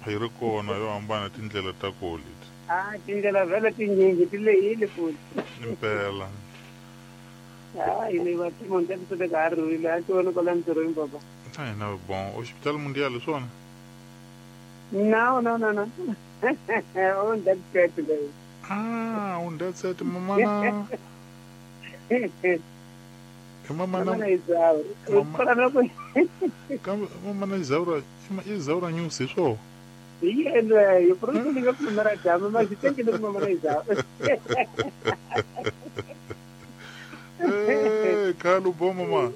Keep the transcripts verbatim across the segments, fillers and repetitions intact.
Hi ri kona yo hambana tindlela ta koho leti. Ah, tindlela vhele tinyingi ti lehile futhi. Impela. Ah, yini va timonde ti ka ha ri a ti vona kwala ntirhweni papa. Na hina bon, Hospital Mundial hi swona? No, no, no, no. On that set leyi. Ah, on that set mamana. I mamana. Mamana Izaura. Kwala na ku. Kambe mamana Izaura, Izaura news hi swona? Hi yeleyo, purisi ni nga pfumela dyambu ma xi tekile ku mamana Izaura. Eh, khale u bo mama.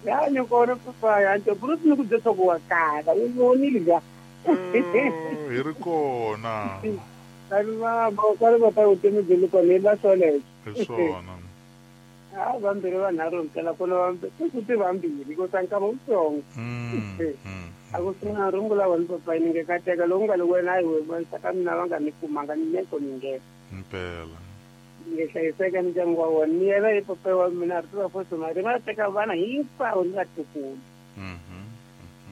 Ya ni kona papa ya nto purisi ni ku byela ku wa kala, u vonile ga. Hi ri kona. Kani mama, kwale va ta vutomi byi le kona hi la swoleswo. Hi swona. Ah, vambirhi vanharhu mpela kona vambirhi ku ti vambirhi ko tsanka wutsongo. Mm. A ku sina rungula wa papa ni nge kateka lowu nga le wena a hi wena saka mina va nga ni kumanga ni neko ni nge. Impela. Ni nge hlayiseka ni ndyangu wa wona ni yena i papa wa mina ri tiva fosi mali va teka vana hinkwavo ni vatukulu. Mhm.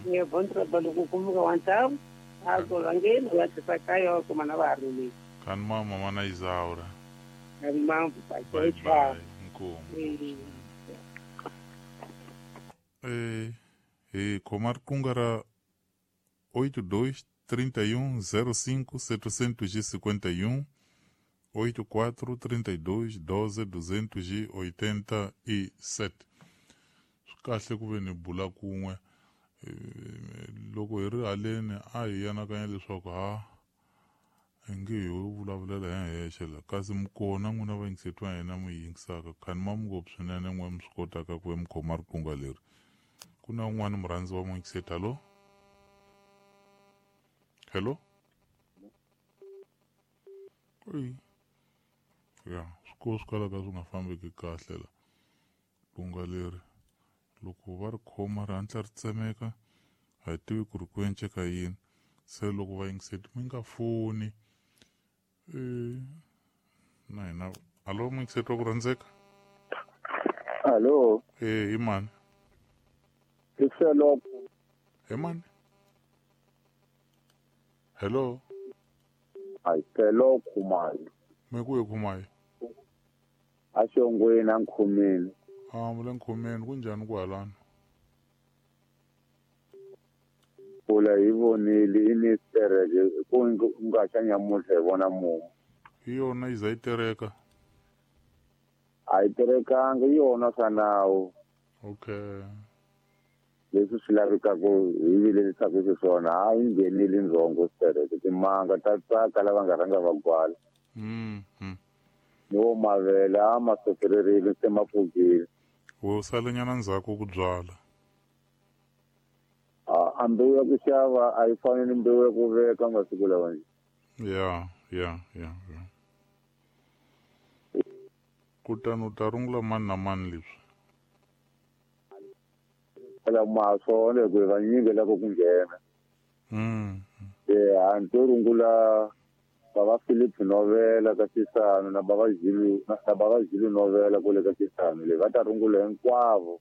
Ni nge bontra ba loko kumbuka wa ntamu a ko va ngeni va tisa kaya wa kuma na va ha rilile. Kani mama mana Izaura. Kani mama papa. Bye bye. Nkomu. Eh, eh, khoma riqingho ra oito dois trinta e um zero cinco setecentos e cinquenta e um oito quatro trinta e dois doze duzentos e oitenta e sete. Swi kahle ku ve ni bula kun'we loko hi ri haleni a hi anakanya leswaku ha hi nge ho vulavulela hi hexe la kasi mi kona n'wina vayingiseti va hina mi yingisaka khani ma mi ngopfu swinene n'we mi swi kotaka ku ve mi khoma riqingho leri. Ku na un'wana murhandzi wa muyingiseti. Hallo? Hello? Oi. Ya, swi swi kalaka swi nga fambeki kahle la. Riqingho leri loko va ri khoma ri hatla ri tsemeka a hi tivi ku ri ku enceka yini. Se loko vayingiseti mi nga foni eh na hina. Allo muyingiseti wa ku rhandzeka? Allo. Eh, i mani? I Felo. Hi mani? Hello. Ai Felo Khumalo. Me ku ye Khumalo? A xongweni a nkhumeni. Ah, mu le nkhumeni ku njhani ku halana? Pula hi vonile i ni tereke ku nga xa nyamutlha hi vona mumu. Hi yona yi za yi tereka? A yi terekanga hi yona swa nawu. Okay. Leswi swi lavekaka hi vilerisaka xiswona a yi nghenile ndzhongo sitereke timanga ta tsaka lava nga rhanga va gwala. Mm. Mm. Ni wo mavele a ma sofererile se ma pfukile. Wo salenyana ndzhaku ku byala. A mbewu ya ku xava a yi fani ni mbewu ya ku veka masiku lawa nje. Ya, ya, ya, ya. Kutani u ta rungula mani na mani leswi? Phela ma swona hi ku hi vanyingi lava ku nghena. Mm. Eh, a ni to rungula bava Philip Novela ka Xisano na bava Zulu na bava Zulu Novela kule ka Xisano le va ta rungula hinkwavo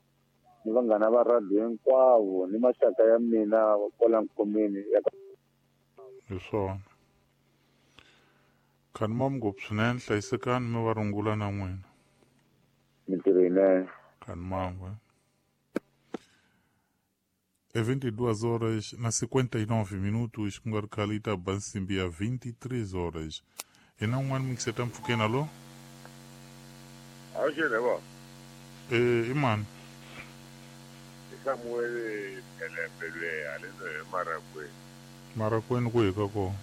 ni vanghana va radio hinkwavo ni maxaka ya mina kwala nkhomeni ya hi swona. Khani ma ngopfu swinene hlayisekani mi va rungula na n'wina. Mintirho yinene. Khani mangwe. É vinte e duas horas na cinquenta e nove minutos, com a Calita Bansimbi a vinte e três horas. E não um ano que você está pequeno, alô? Alô, né, Eh, imani. Samuel Pelepele, além do Maracuê. Maracuê no que kako?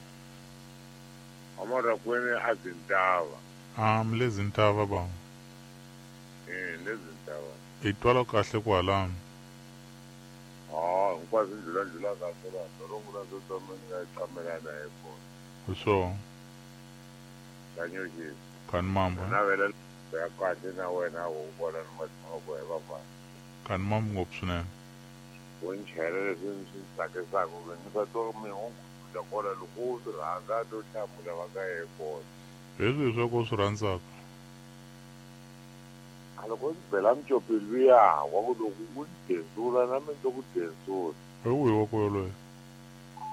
A Maracuê é Azintava. Ah, mlezintava bom. Eh, lezintava. E twala kahle kwalano. Ah, quase ndlula ndlula kahle la. Rungula zo tsamela tsamelana hi kona. So. Kanyoji. Kan mamba. Na vela ya kahle na wena u vona ni matsongo ya vafana. Kan mamba ngopfu swinene. U nchela leswi swi tsakisaka ku ni va to mi hunguta kona loko u swi rhandza to hlamula va nga ye kona. Leswi swa ku swi rhandzaka. A loko ndzi bela micopelo luya wa ku loko u ni denzula na mina ndzi ku denzula. Hi wihi wa ku yoloye?